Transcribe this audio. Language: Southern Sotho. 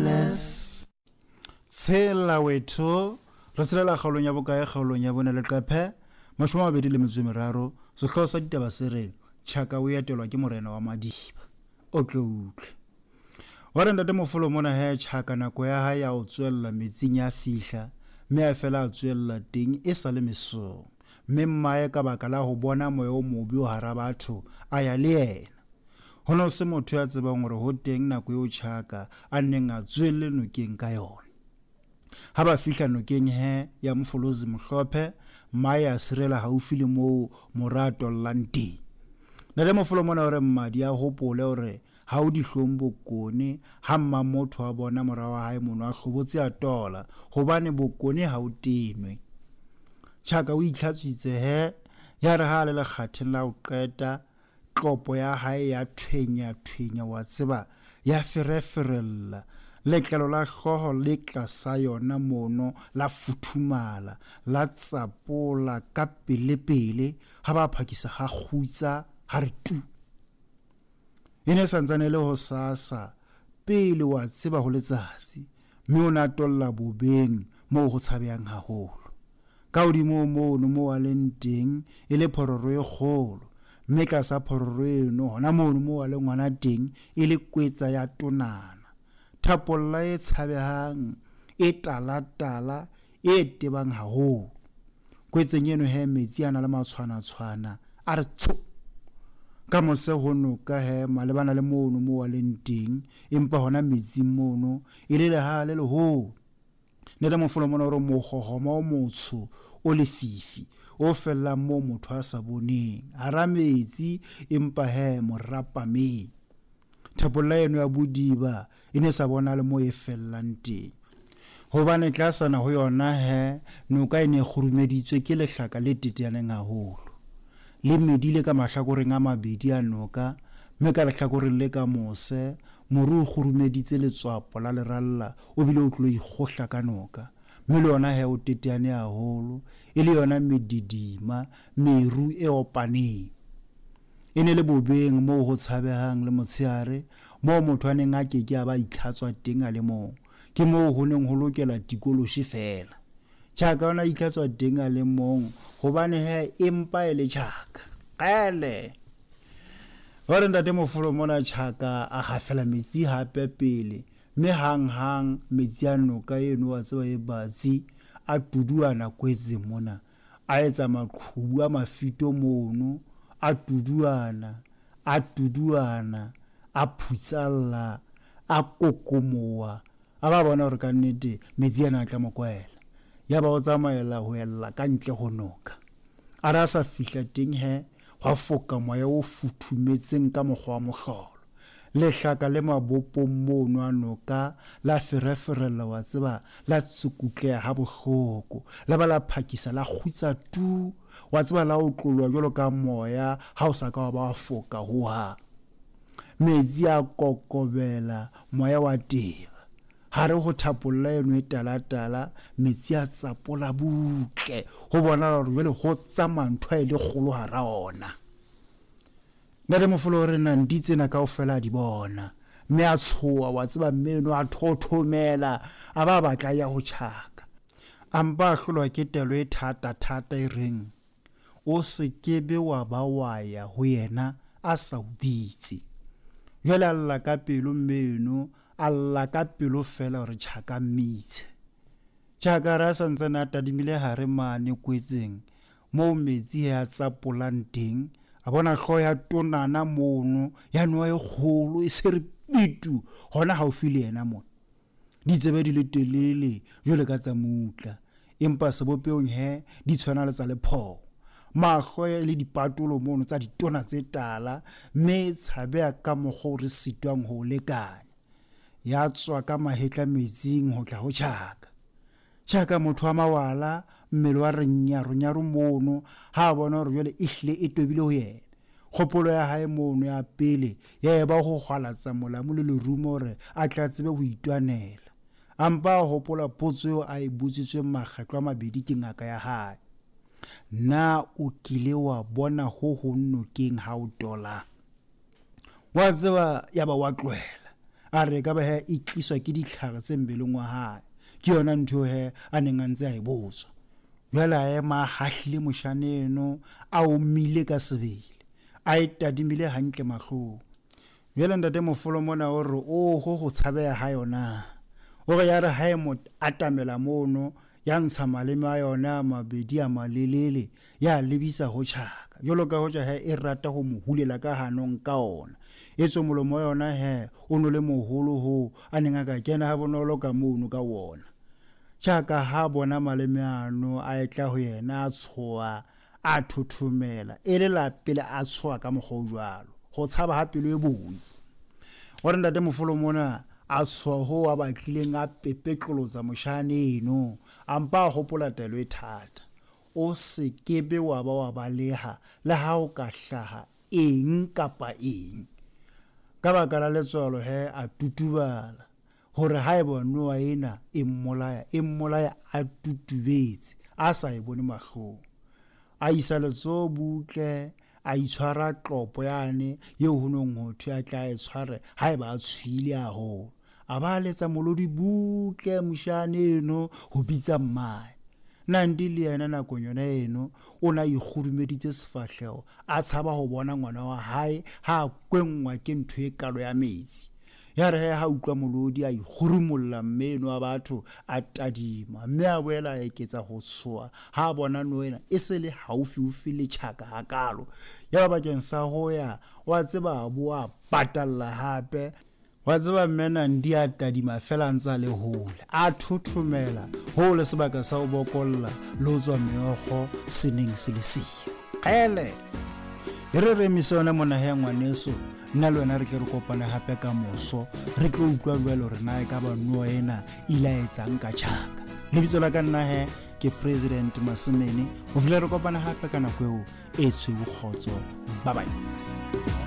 Wellness. Tshela wethu re tshelela kgaolong ya bokae kgaolong ya bone leqephe 23 sehlooho sa ditaba se re Tjhaka o etelwa ke morena wa Madiba o tlo utlwe wa re ntate Mofolo mona he Tjhaka nako ya hae ya ho tswella metsing ya fihla mme a fela a tswella teng e sa le mesong mme mmae ka baka la ho bona moya o mobe o hara batho a ya le yena. Ho ne ho se motho ya tsebang hore ho teng nako eo Tjhaka a neng a tswelle nokeng ka yona. Ha ba fihla nokeng he ya Mfolozi Mohlophe, mmae a sirela haufi le moo mora a tollang teng. Ntate Mofolo mona o re mmadi a hopole hore ha o dihlong bokone ha mma motho a bona mora wa hae mono a hlobotse a tola, hobane bokone ha o tenwe. Tjhaka o itlhatswitse he, ya re ha a le lekgatheng la ho qeta, tlopo ya hae ya thwenya-thwenya, wa tseba, ya fereferella. Letlalo la hlooho le tlasa yona mono la futhumala, la tsapola ka pele-pele, ha ba phakisa ha kgutsa, ha re tu. E ne e santsane e le hosasa, pele wa tseba ho letsatsi, mme o ne a tolla bobeng moo ho tshabehang haholo. Ka hodimo mono moo a leng teng e le phororo e kgolo, mme tlasa phororo eno hona mono moo a leng hona teng e le kwetsa ya tonana. Thapolla e tshabehang, e tala-tala, e tebang haholo. Kwetseng eno he metsi a na le matshwana-tshwana a re tsho. Ka mose ho noka he malebana le mono moo a leng teng, empa hona metsing mono e le lehaha le leholo. Ne le mofolo mona hore mohohoma o motsho o lefifi o fellang moo motho a sa boneng hara metsi empa he morapameng. Thapolla eno ya bodiba e ne sa bonale moo e fellang teng, hobane tlasana ho yona he noka e ne e kgurumeditswe ke lehlaka le teteaneng haholo, le medile ka mahlakoreng a mabedi a noka, mme ka lehlakoreng le ka mose moru o kgurumeditse letswapo la leralla o bile o tlo ikgohla ka noka, mme le yona he o teteane haholo, e le yona medidima, meru e opaneng. E ne le bobeng moo ho tshabehang le motshehare, moo motho a neng a ke ke a ba itlhatswa teng a le mong. Ke moo ho neng ho lokela tikoloshe feela. Tjhaka o ne a itlhatswa teng a le mong, hobane he empa e le tjhaka. Kgele! Ba re ntate Mofolo mona tjhaka a hafela metsi hape pele, mme hang-hang metsi a noka eno wa tseba e batsi a tuduana kwetseng mona. A etsa maqhubu a mafito mono, a tuduana, a tuduana, a phutsalla, a kokomoa, a ba bona hore ka nnete metsi ana a tla mo kwaela. Yaba o tsamaela ho ella ka ntle ho noka. A re a sa fihla teng he, hwa foka moya o futhumetseng ka mokgwa wa mohlolo. Lehlaka le mabopong mono a noka la fereferella, wa tseba, la tsukutleha ha bohloko, la ba la phakisa la kgutsa tu, wa tseba, la otloloha jwalo ka moya ha o sa ka wa ba wa foka hohang. Metsi a kokobela, moya wa teba. Hare ho thapolla eno e tala-tala, metsi a tsapola butle, ho bonahala hore jwale ho tsamaya ntho e le kgolo hara ona. Ntate Mofolo o re Nandi tsena kaofela a di bona, mme a tshoha, wa tseba, mme eno a thothomela, a ba batla ya ho tjhaka. A mpa a hlolwa ke telo e thata-thata e reng, O se ke be wa ba wa ya ho yena a sa o bitse. Jwale a lla ka pelo mme eno, a lla ka pelo feela hore tjhaka mmitse. Tjhaka re a sa ntsane a tadimile hare mane kwetseng, moo metsi a tsapolang teng, a bona hlooho ya tonana mono, ya noha e kgolo e se re pitu hona haufi le yena mona. Ditsebe di le telele jwale ka tsa mutla, empa sebopehong he di tshwana le tsa lephoo. Mahlo e le dipatolo mono tsa ditona tse tala, mme e tshabeha ka mokgwa o re sitwang ho o lekanya. Ya tswa ka mahetla metsing ho tla ho tjhaka. Tjhaka motho wa mawala, mmele wa re nyaro-nyaro mono, ha a bona hore jwale e hlile e tobile ho yena. Kgopolo ya hae mono ya pele ya eba ho hwalatsa molamu le lerumo hore a tla tsebe ho itwanela. A mpa a hopola potso eo a e botsitsweng makgetlo a mabedi ke ngaka ya hae. Na o kile wa bona ho hong nokeng ha o tola? Wa tseba, ya ba wa tlohela. A re ekaba he e tliswa ke ditlhare tse mmeleng wa hae. Ke yona ntho eo he a neng a ntse a e botswa. Jwale a ema a hahlile moshana eno, a omile ka sebele, a e tadimile hantle mahlong. Jwale ntate Mofolo mona o re oho ho tshabeha ha yona. O re yare ha e mo atamela mono, ya ntsha maleme a yona a mabedi a malelele, ya lebisa ho Tjhaka. Jwalo ka hoja he e rata ho mo hulela ka hanong ka ona. Etswe molomo wa yona he o no le moholo hoo a neng a ka kena ha bonolo ka mono ka wona. Tjhaka ha bona maleme ano a etla ho yena, a tshoha, a thothomela, e le la pele a tshoha ka mokgwa o jwalo. Ho tshaba ha pelo e boi. O re ntate Mofolo mona a tshoha hoo a batlileng a pepetlolotsa moshana eno, a mpa a hopola taelo e thata. O se ke be wa ba wa baleha le ha ho ka hlaha eng kapa eng. Ka baka la letswalo he a tutubala hore haeba noha ena e mmolaya, e mmolaya a tutubetse, a sa e bone mahlong. A isa letsoho butle, a itshwara tlopo yane eo ho nong ho thwe a tla e tshware haeba a tshohile haholo. A ba a letsa molodi butle moshana eno ho bitsa mmae. Nandi le yena nakong yona eno o ne a ikgurumeditse sefahleho, a tshaba ho bona ngwana wa hae ha a kwenngwa ke ntho e kalo ya metsi. Ya re he ha utlwa molodi a ikgurumolla mme eno wa batho a tadima, mme a boela a eketsa ho tshoha ha a bona noha ena e se le haufiufi le Tjhaka hakalo. Ya ba bakeng sa ho ya, wa tseba a boa a patalla hape. Wa tseba mme Nandi a tadima feela a ntse a le hole, a thothomela hoo le sebaka sa ho bokolla le ho tswa meokgo se neng se le siyo. Kgele! E re re emise yona mona he ngwaneso, nna le wena re tle re kopane hape ka moso, re tlo utlwa jwale hore na ekaba noha ena e ile a etsang ka Tjhaka. Lebitso la ka nna he ke President Masemene. Ho fihlela re kopana hape ka nako eo e tshweu kgotso. Bye bye.